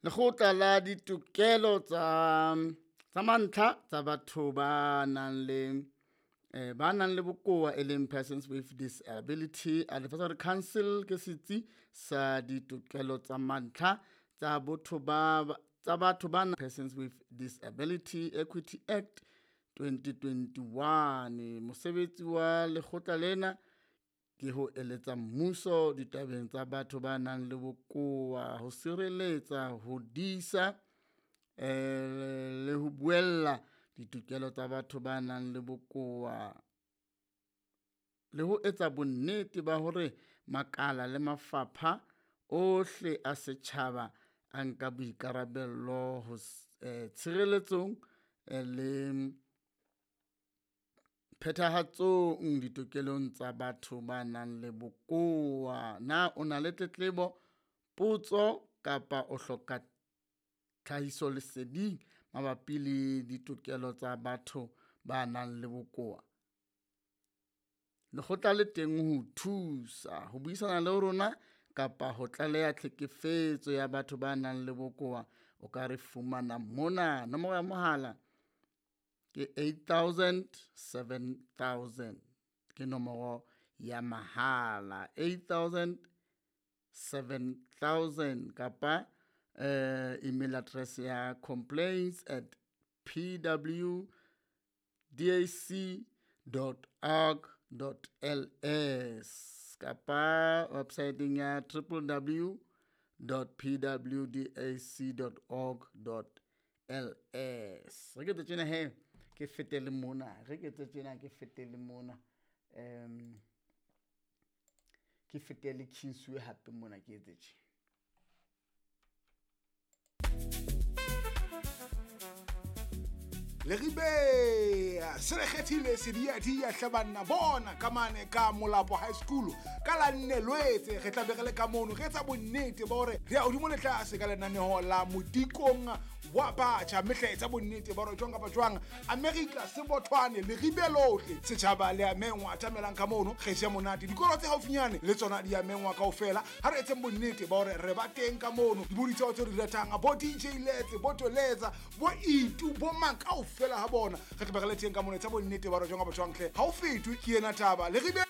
Lekgotla la ditokelo tsa mantlha tsa batho ba nang le ba nang le bokowa, e leng Persons with Disability Advisory Council, ke setsi sa ditokelo tsa mantlha tsa botho ba tsa batho ba Persons with Disability Equity Act 2021. Mosebetsi wa lekgotla lena ke ho eletsa mmuso ditabeng tsa batho ba nang le bokowa, ho sireletsa, ho disa le ho buella ditokelo tsa batho ba nang le bokowa, le ho etsa bonnete ba hore makala le mafapha ohle a setjhaba a nka boikarabello ho tshireletsong le phethahatsong ditokelong tsa batho ba nang le bokowa. Na o na le tletlebo, potso kapa o hloka tlhahisoleseding mabapi le ditokelo tsa batho ba nang le bokowa? Lekgotla le teng ho thusa ho buisana le rona kapa ho tlaleha tlhekefetso ya batho ba nang le bokowa. O ka re fumana mona, nomoro ya mohala ke 8000 7000, ke nomoro ya mahala 8000 7000, kapa email address ya complaints@pwdac.org.ls kapa website ya www.pwdac.org.ls. Re ke tse tjena he, ke fetele mona, re ke tse tjena ke fetele mona, ke fetele Kingsway hape mona ke etse tje. Leribe se re kgethile sediadia hle banna, bona ka mane ka Molapo High School ka la nne Lwetse, re tla be re le ka mono re etsa bonnete ba hore re ya hodimo le tlase ka lenaneho la modikong wa batjha, mme hle etsa bonnete ba hore jwang kapa jwang America Sebothwane Leribe lohle setjhaba le a mengwa, atamelang ka mono re je monate, dikolo tse haufinyane le tsona di a mengwa kaofela. Ha re etseng bonnete ba hore re ba teng ka mono, dibodi tseo tse di ratang bo DJ Letse, bo Toletsa, bo Itu, bo mang kaofela ha bona re tla be re le teng ka mono. Etsa bonnete ba hore jwang kapa jwang hle ha o fetwe ke ena taba Leribe.